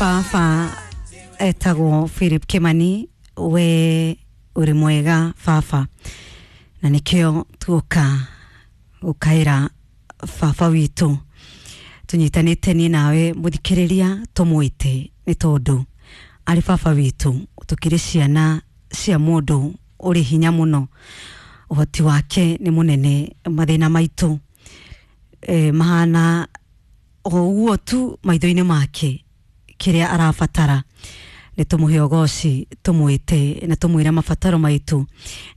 Baba etagwo Philip Kimani, we uri mwega baba, na nikio tuoka gukaira baba witu tunyitanite ni nawe muthikiriria tumwite ni tondu ari baba witu tukiri ciana cia mundu uri hinya muno, uhoti wake ni munene, mathina maitu mahana o uguo tu maitho-inĩ make. Kiria arabatara nĩ tũmũhe ũgoci, tũmwĩte na tũmwĩre mabataro maitu,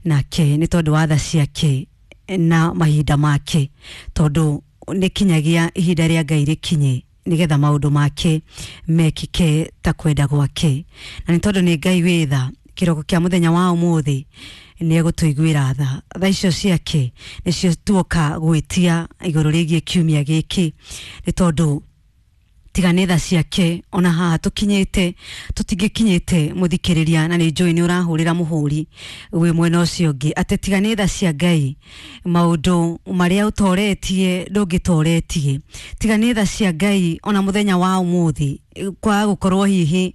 nake nĩ tondũ wa tha ciake na mahinda make, tondũ nĩ kinyagia ihinda rĩa Ngai rĩkinye nĩgetha maũndũ make mekĩke ta kwenda gwake. Na nĩ tondũ nĩ Ngai wĩ tha, kĩroko kĩa mũthenya wa ũmũthĩ nĩ egũtũiguĩra tha. Tha icio ciake nĩcio tuoka gwĩtia igũrũ rĩgiĩ kiumia gĩkĩ, nĩ tondũ tiga nĩ tha ciake ona haha tũkinyĩte tũtingĩkinyĩte mũthikĩrĩria, na nĩ njũĩ nĩ ũrahũrĩra mũhũri wĩ mwena ũcio ũngĩ atĩ tiga nĩ tha cia Ngai maũndũ marĩa ũtoretie ndũngĩtoretie, tiga nĩ tha cia Ngai ona mũthenya wa ũmũthĩ kwaga gũkorwo hihi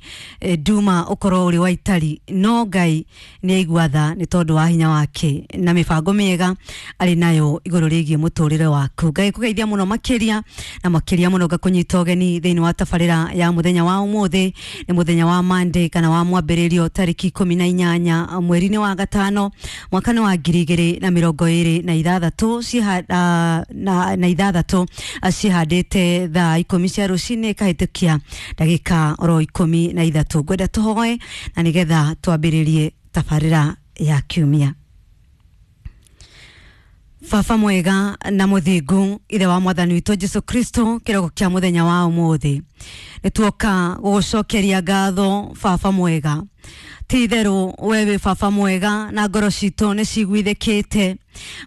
nduma ũkorwo ũrĩ wa itari, no Ngai nĩ aigua tha nĩ tondũ wa hinya wake na mĩbango mĩega arĩ nayo igũrũ rĩgiĩ mũtũrĩre waku. Ngai kũgeithia mũno makĩria na makĩria mũno ngakũnyita ũgeni thĩinĩ wa tabarĩra ya mũthenya wa ũmũthĩ. Nĩ mũthenya wa Monday kana wa mwambĩrĩrio tarĩki 18 mweri-inĩ wa gatano mwaka-inĩ wa 2026 na ithathatũ, cihandĩte thaa 10 cia rũcinĩ ikahĩtũkia ndagĩka oro 13. Ngwenda tũhoe na nĩgetha twambĩrĩrie tabarĩra ya kiumia. Baba mwega na mũthingu, ithe wa mwathani witũ Jesu Kristo, kĩroko kĩa mũthenya wa ũmũthĩ nĩ tuoka gũgũcokeria ngatho baba mwega. Ti itherũ we wĩ baba mwega na ngoro citũ nĩ ciguithĩkĩte,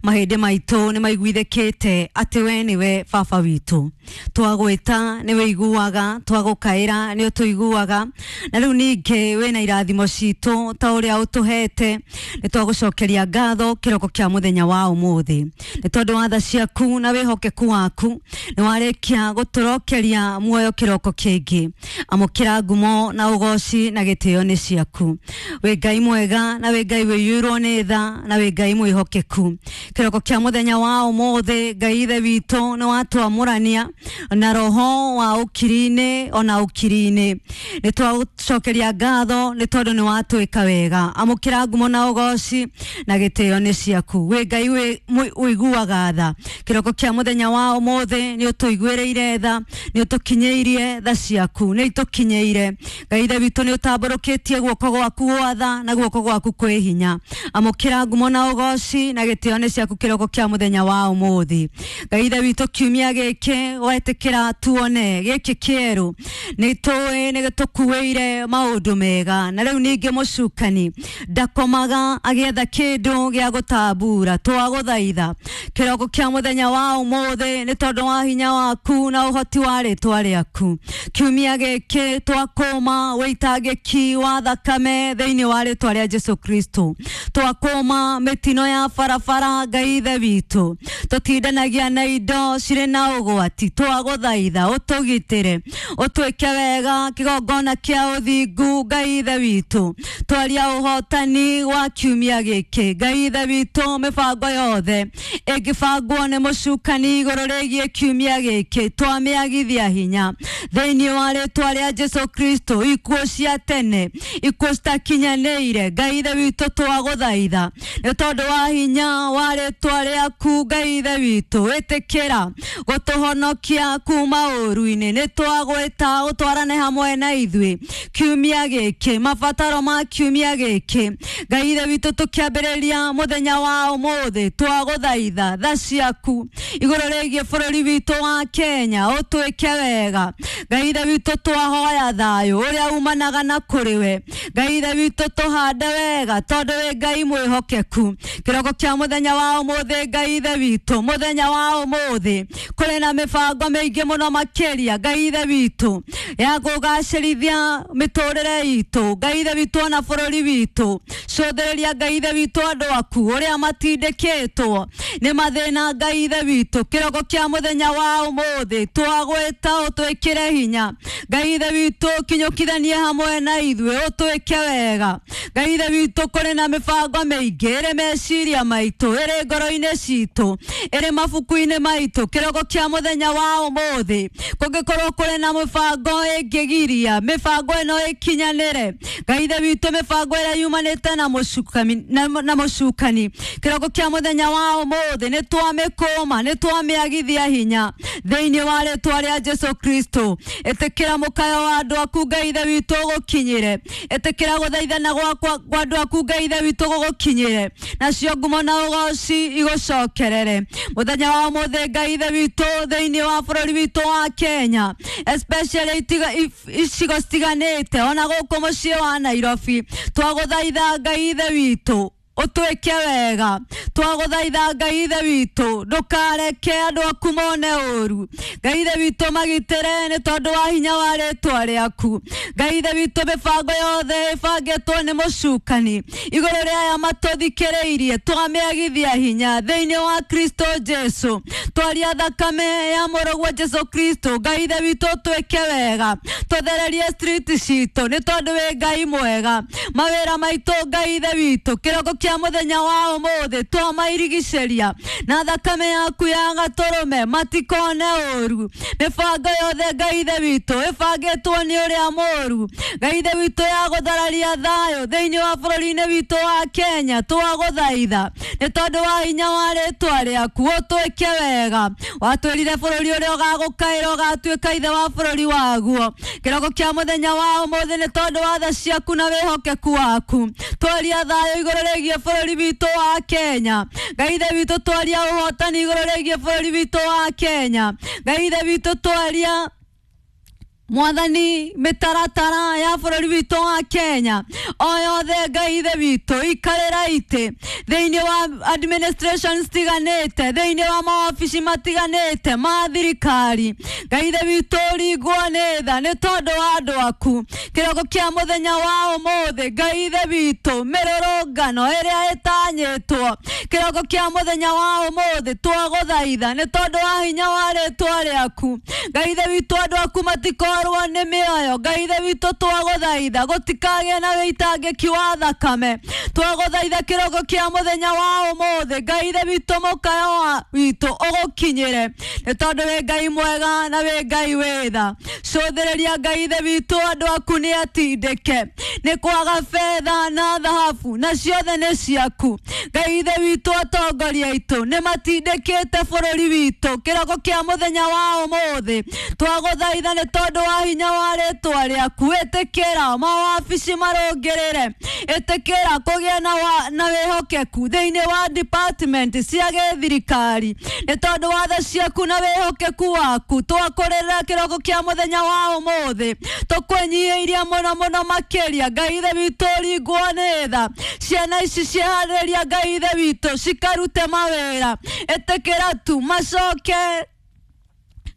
mahĩndĩ maitũ nĩ maiguithĩkĩte atĩ we nĩwe baba witũ. Twagwĩta nĩ wĩiguaga, twagũkaĩra nĩ ũtũiguaga, na rĩu ningĩ wĩna irathimo citũ ta ũrĩa ũtũhete. Nĩ twagũcokeria ngatho kĩroko kĩa mũthenya wa ũmũthĩ nĩ tondũ wa tha ciaku na wĩhokeku waku, nĩ warĩkia gũtũrokeria muoyo kĩroko kĩngĩ. Amũkĩra ngumo na ũgoci na gĩtĩo nĩ ciaku. Wĩ Ngai mwega na wĩ Ngai wĩiyũirwo nĩ tha na wĩ Ngai mwĩhokeku. Kĩroko kĩa mũthenya wa ũmũthĩ Ngai ithe witũ nĩ watwamũrania na roho wa ũkiri-inĩ ona ũkiri-inĩ. Nĩ twagũcokeria ngatho nĩ tondũ nĩ watwĩka wega. Amũkĩra ngumo na ũgoci na gĩtĩo nĩ ciaku. Wĩ Ngai ũiguaga tha. Kĩroko kĩa mũthenya wa ũmũthĩ nĩ ũtũiguĩrĩire tha, nĩ ũtũkinyĩirie tha ciaku, nĩ itũkinyĩire. Ngai ithe witũ nĩ ũtambũrũkĩtie guoko gwaku gwa tha na guoko gwaku kwĩ hinya. Amũkĩra ngumo na ũgoci na gĩtĩo nĩ ciaku kĩroko kĩa mũthenya wa ũmũthĩ. Ngai ithe witũ kiumia gĩkĩ wetĩkĩra tuone gĩkĩ kĩerũ, nĩ tũĩ nĩ gĩtũkuĩire maũndũ mega, na rĩu ningĩ mũcukani ndakomaga agĩetha kĩndũ gĩa gũtambura. Twagũthaitha kĩroko kĩa mũthenya wa ũmũthĩ nĩ tondũ wa hinya waku na ũhoti wa rĩtwa rĩaku. Kiumia gĩkĩ twakũma wĩitangĩki wa thakame thĩinĩ wa rĩtwa rĩa Jesu Kristo. Twakũma mĩtino ya barabara Ngai ithe witũ, tũtindanagia na indo cirĩ na ũgwati. Twagũthaitha ũtũgitĩre, ũtwĩke wega kĩgongona kĩa ũthingu Ngai ithe witũ. Twaria ũhotani wa kiumia gĩkĩ Ngai ithe witũ, mĩbango yothe ĩngĩbangwo nĩ mũcukani igũrũ rĩgiĩ kiumia gĩkĩ twamĩagithia hinya thĩinĩ wa rĩtwa rĩa Jesu Kristo. Ikuũ cia tene, ikuũ citakinyanĩire Ngai ithe witũ twagũthaitha nĩ tondũ wa hinya wa rĩtwa rĩaku Ngai ithe witũ, ĩtĩkĩra gũtũhonokia kuma ũru-inĩ. Nĩ twagwĩta ũtwarane hamwe na ithuĩ kiumia gĩkĩ, mabataro ma kiumia gĩkĩ Ngai ithe witũ tũkĩambĩrĩria mũthenya wa ũmũthĩ twagũthaitha tha ciaku igũrũ rĩgiĩ bũrũri witũ wa Kenya ũtwĩke wega. Ngai ithe witũ twahoya thayũ ũrĩa umanaga na kũrĩ we. Ngai ithe witũ tũhande wega tondũ wĩ Ngai mwĩhokeku. Kĩroko kĩa mũthenya Mũthenya wa ũmũthĩ Ngai Ithe witũ, mũthenya wa ũmũthĩ kũrĩ na mĩbango mĩingĩ mũno makĩria Ngai Ithe witũ ya kũgacĩrithia mĩtũrĩre itũ Ngai Ithe witũ ona bũrũri witũ. Cũthĩrĩria Ngai Ithe witũ andũ aku ũrĩa matindĩkĩtwo nĩ mathĩna Ngai Ithe witũ. Kĩroko kĩa mũthenya wa ũmũthĩ twagwĩta ũtwĩkĩre hinya Ngai Ithe witũ, kinyũkithanie hamwe na ithuĩ ũtwĩke wega Ngai Ithe witũ. Kũrĩ na mĩbango mĩingĩ ĩrĩ meciria maitũ, ĩrĩ ngoro-inĩ citũ, ĩrĩ mabuku-inĩ maitũ. Kĩroko kĩa mũthenya wa ũmũthĩ kũngĩkorwo kũrĩ na mĩbango ĩngĩgiria mĩbango ĩno ĩkinyanĩre Ngai Ithe witũ, mĩbango ĩrĩa yumanĩte na mũcukani na mũcukani, kĩroko kĩa mũthenya wa ũmũthĩ nĩ twamĩkũma, nĩ twamĩagithia hinya thĩinĩ wa rĩtwa rĩa Jesu Kristo. Ĩtĩkĩra mũkayo wa andũ aku Ngai Ithe witũ ũgũkinyĩre, ĩtĩkĩra gũthaithana gwakwa kwa andũ aku Ngai Ithe witũ gũgũkinyĩre, nacio ngumo na ũgoci igũcokerere mũthenya wa ũmũthĩ Ngai Ithe witũ thĩinĩ wa bũrũri witũ wa Kenya, especially icigo citiganĩte ona gũkũ mũciĩ wa Nairobi. Twagũthaitha Ngai Ithe witũ ũtwĩke wega, twagũthaitha Ngai Ithe witũ ndũkareke andũ aku mone ũru Ngai Ithe witũ, magitĩre nĩ tondũ wa hinya wa rĩtwa rĩaku Ngai Ithe witũ. Mĩbango yothe ĩbangĩtwo nĩ mũcukani igũrũ rĩa aya matũthikĩrĩirie twamĩagithia hinya thĩinĩ wa Kristo Jesu. Twaria thakame ya mũrũguo Jesu Kristo Ngai Ithe witũ twĩke wega, tũthererie street citũ nĩ tondũ wĩ Ngai mwega. Mawĩra maitũ Ngai Ithe witũ, kĩroko kĩa mũthenya wa ũmũthĩ twamairigicĩria na thakame yaku ya gatũrũme, matikone ũru. Mĩbango yothe Ngai Ithe witũ ĩbangĩtwo nĩ ũrĩa mũru Ngai Ithe witũ ya gũthararia thayũ thĩinĩ wa bũrũri-inĩ witũ wa Kenya, twagũthaitha nĩ tondũ wa hinya wa rĩtwa rĩaku ũtwĩke wega. Watwĩrire bũrũri ũrĩa ũgagũkaĩra ũgatuĩka ithe wa bũrũri waguo. Kĩroko kĩa mũthenya wa ũmũthĩ nĩ tondũ wa tha ciaku na wĩhokeku waku, twaria thayũ igũrũ rĩgiĩ bũrũri witũ wa Kenya Ngai Ithe witũ, twaria ũhotani igũrũ rĩgiĩ bũrũri witũ wa Kenya Ngai Ithe witũ, twaria Mwathani mĩtaratara ya bũrũri witũ wa Kenya o yothe Ngai Ithe witũ, ikarĩra itĩ thĩinĩ wa administration citiganĩte, thĩinĩ wa mawabici matiganĩte ma thirikari Ngai Ithe witũ, ringwo nĩ tha nĩ tondũ wa andũ aku. Kĩroko kĩa mũthenya wa ũmũthĩ Ngai Ithe witũ, mĩrũrũngano ĩrĩa ĩtanyĩtwo kĩroko kĩa mũthenya wa ũmũthĩ twagũthaitha nĩ tondũ wa hinya wa rĩtwa rĩaku Ngai Ithe witũ, andũ aku matikorwo nĩ mĩoyo Ngai Ithe witũ, twagũthaitha gũtikagĩe na wĩitangĩki wa thakame. Twagũthaitha kĩroko kĩa mũthenya wa ũmũthĩ Ngai Ithe witũ, mũkayo wa witũ ũgũkinyĩre nĩ tondũ wĩ Ngai mwega na wĩ Ngai wĩ tha. Cũthĩrĩria Ngai Ithe witũ, andũ aku nĩ atindĩke nĩ kwaga betha na thahabu, na ciothe nĩ ciaku Ngai Ithe witũ. Atongoria aitũ nĩ matindĩkĩte bũrũri witũ. Kĩroko kĩa mũthenya wa ũmũthĩ twagũthaitha nĩ tondũ wa hinya wa rĩtwa rĩaku, ĩtĩkĩra mawabici marũngĩrĩre, ĩtĩkĩra kũgĩa na wĩhokeku thĩinĩ wa department cia gĩthirikari nĩ tondũ wa tha ciaku na wĩhokeku waku. Twakũrĩrĩra kĩroko kĩa mũthenya wa ũmũthĩ tũkwĩnyihĩirie mũno mũno makĩria Ngai Ithe witũ, ringwo nĩ tha. Ciana ici ciĩharĩria Ngai Ithe witũ cikarute mawĩra, ĩtĩkĩra tu macoke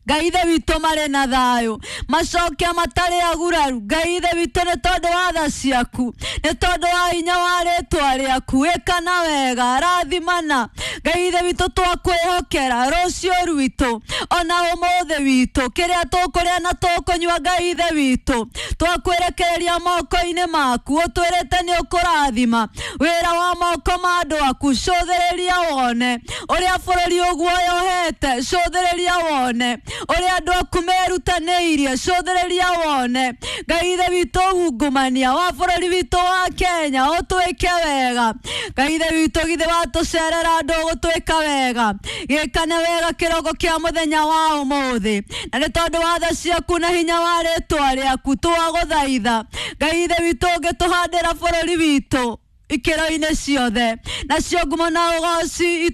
Ngai Ithe witũ marĩ na thayũ, macoke matarĩ aguraru Ngai Ithe witũ, nĩ tondũ wa tha ciaku, nĩ tondũ wa hinya wa rĩtwa rĩaku. Ĩkana wega, rathimana Ngai Ithe witũ. Twakwĩhokera rũciũ rwitũ ona ũmũthĩ witũ, kĩrĩa tũkũrĩa na tũkũnyua Ngai Ithe witũ, twakwĩrekereria moko-inĩ maku. Ũtwĩrĩte nĩ ũkũrathima wĩra wa moko ma andũ aku. Cũthĩrĩria wone ũrĩa bũrũri ũguoyohete, cũthĩrĩria wone ũrĩa andũ aku merutanĩirie, cũthĩrĩria wone Ngai Ithe witũ ungumania wa bũrũri witũ wa Kenya, ũtwĩke wega Ngai Ithe witũ. Githĩ watũcerera andũ ũgũtwĩka wega, gĩkane wega kĩroko kĩa mũthenya wa ũmũthĩ, na nĩ tondũ wa tha ciaku na hinya wa rĩtwa rĩaku twagũthaitha Ngai Ithe witũ, ũngĩtũhandĩra bũrũri witũ. Ikĩro-inĩ ciothe nacio ngumo na ũgoci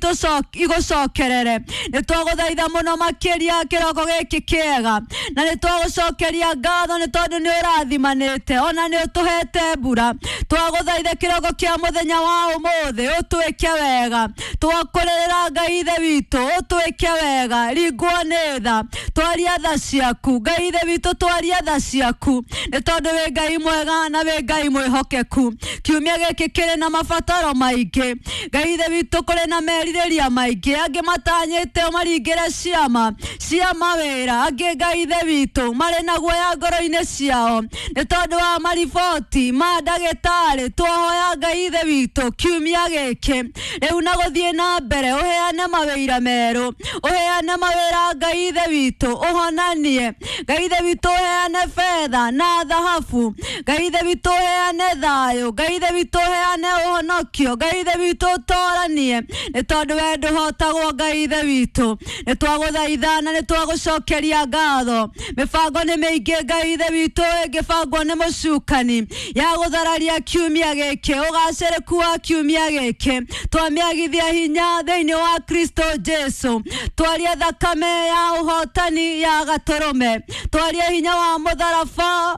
igũcokerere. Nĩ twagũthaitha mũno makĩria kĩroko gĩkĩ kĩega, na nĩ twagũcokeria ngatho nĩ tondũ nĩ ũrathimanĩte ona nĩ ũtũhete mbura. Twagũthaitha kĩroko kĩa mũthenya wa ũmũthĩ ũtwĩke wega. Twakũrĩrĩra Ngai Ithe witũ ũtwĩke wega, ringwo nĩ tha, twaria tha ciaku Ngai Ithe witũ, twaria tha ciaku nĩ tondũ wĩ Ngai mwega na wĩ Ngai mwĩhokeku. Kiumia gĩkĩ kĩrĩ na mabataro maingĩ Ngai Ithe witũ, kũrĩ na merirĩria maingĩ, angĩ matanyĩte ũmaringĩre ciama cia mawĩra, angĩ Ngai Ithe witũ marĩ na guoya ngoro-inĩ ciao nĩ tondũ wa mariboti ma ndagĩtarĩ. Twahoya Ngai Ithe witũ kiumia gĩkĩ rĩu na gũthiĩ na mbere ũheane mawĩra merũ, ũheane mawĩra Ngai Ithe witũ, ũhonanie Ngai Ithe witũ, ũheane betha na thahabu Ngai Ithe witũ, ũheane thayũ Ngai Ithe witũ, ũheane ũhonokio Ngai Ithe witũ, ũtoranie nĩ tondũ we ndũhotagwo Ngai Ithe witũ. Nĩ twagũthaitha na nĩ twagũcokeria ngatho. Mĩbango nĩ mĩingĩ Ngai Ithe witũ ĩngĩbangwo nĩ mũcukani ya gũthararia kiumia gĩkĩ, ũgacĩrĩku wa kiumia gĩkĩ twamĩagithia hinya thĩinĩ wa Kristo Jesu. Twaria thakame ya ũhotani ya gatũrũme, twaria hinya wa mũtharaba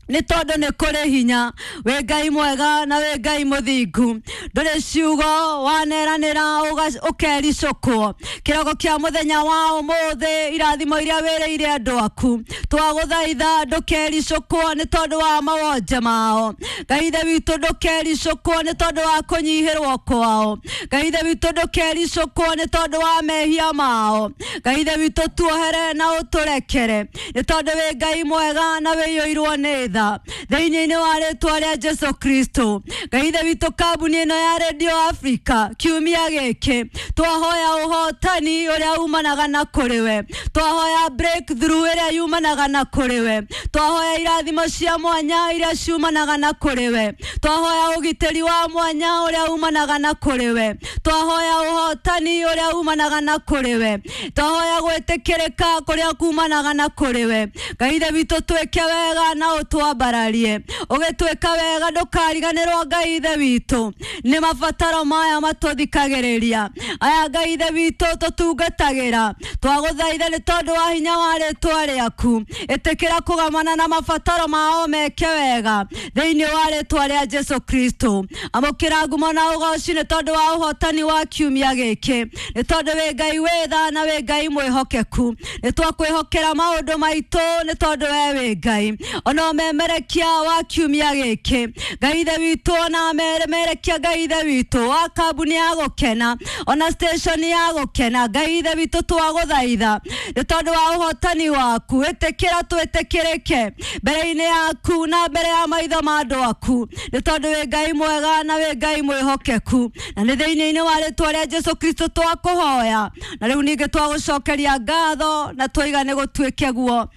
nĩ tondũ nĩ kũrĩ hinya. Wĩ Ngai mwega na wĩ Ngai mũthingu, ndũrĩ ciugo waneranĩra ũkericũkwo. Kĩroko kĩa mũthenya wa ũmũthĩ, irathimo iria wĩrĩire andũ aku twagũthaitha ndũkericũkwo nĩ tondũ wa mawonje mao Ngai Ithe witũ, ndũkericũkwo nĩ tondũ wa kũnyihĩrwo kwao Ngai Ithe witũ, ndũkericũkwo nĩ tondũ wa mehia mao Ngai Ithe witũ, tuohere na ũtũrekere nĩ tondũ wĩ Ngai mwega na wĩiyũirwo nĩ tha thĩinĩ-inĩ wa rĩtwa rĩa Jesu Kristo. Ngai Ithe witũ, kambuni ĩno ya Radio Africa kiumia gĩkĩ twahoya ũhotani ũrĩa umanaga na kũrĩ we, twahoya breakthrough ĩrĩa yumanaga na kũrĩ we, twahoya irathimo cia mwanya iria ciumanaga na kũrĩ we, twahoya ũgitĩri wa mwanya ũrĩa umanaga na kũrĩ we, twahoya ũhotani ũrĩa umanaga na kũrĩ we, twahoya gwĩtĩkĩrĩka kũrĩa kumanaga na kũrĩ we. Ngai Ithe witũ, twĩke wega na ũtwambararie, ũgĩtwĩka wega ndũkariganĩrwo Ngai Ithe witũ nĩ mabataro maya matũthikagĩrĩria aya Ngai Ithe witũ tũtungatagĩra. Twagũthaitha nĩ tondũ wa hinya wa rĩtwa rĩaku, ĩtĩkĩra kũgamana na mabataro mao meke wega thĩinĩ wa rĩtwa rĩa Jesu Kristo. Amũkĩra ngumo na ũgoci nĩ tondũ wa ũhotani wa kiumia gĩkĩ, nĩ tondũ wĩ Ngai wĩ tha na wĩ Ngai mwĩhokeku. Nĩ twakwĩhokera maũndũ maitũ nĩ tondũ we wĩ Ngai. Ona ũmemerekia wa kiumia gĩkĩ Ngai Ithe witũ, ona amemerekia Ngai Ithe witũ wa kambuni ya gũkena, ona station ya gũkena Ngai Ithe witũ, twagũthaitha nĩ tondũ wa ũhotani waku, ĩtĩkĩra twĩtĩkĩrĩke mbere-inĩ yaku na mbere ya maitho ma andũ aku nĩ tondũ wĩ Ngai mwega na wĩ Ngai mwĩhokeku. Na nĩ thĩinĩ-inĩ wa rĩtwa rĩa Jesu Kristo twakũhoya, na rĩu ningĩ twagũcokeria ngatho na twaiga nĩ gũtuĩke guo.